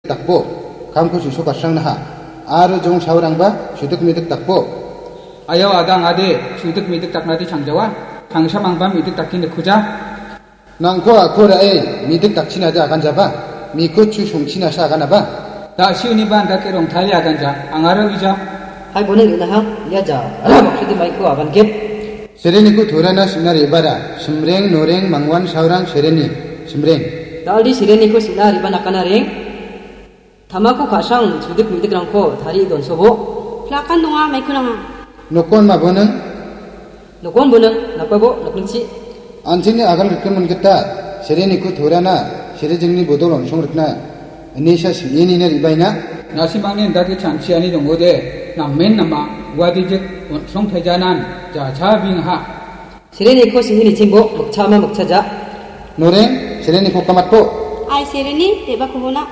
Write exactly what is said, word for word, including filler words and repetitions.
dakbo, kamko chu·sok asrangnaha. Aro jong saorangba chudik midik dakbo. Ayau adang ade, chudik midik daknade changjawa. Tangsamangba midik dake nikkuja. Nangko ako ra·e, midik dakchinade aganjaba. Miko chu songchinasa aganaba. Da·si uniba andake rongtale aganja, angara uija. Hai boning ri·naha, ia ja, ala baksudi maiko agan gip. Sereniko turana sina ribara, simreng, noreng, mangwan, saorang, sereni, simreng. Daldi sereniko sina riba nakana reng. Tamako ka·sang chudik midikrangko tarie donsobo. Plakan donga, maiko nanga. Nokon maboneng. Nokon boneng, napabo, nokningchi. Anchingni agan rikgimin gita, sereniko torana, serejingni bodol on·song rikna, inisa sim·enina ribaina. Nasimangni indake chanchiani dongode, namen nama, uadijik on·song taijanan, jachabingaha. Sereniko sini nichingbo, mikchama mikchaja. Noreng, sereniko kamatko. Ai sereni, teba kubona.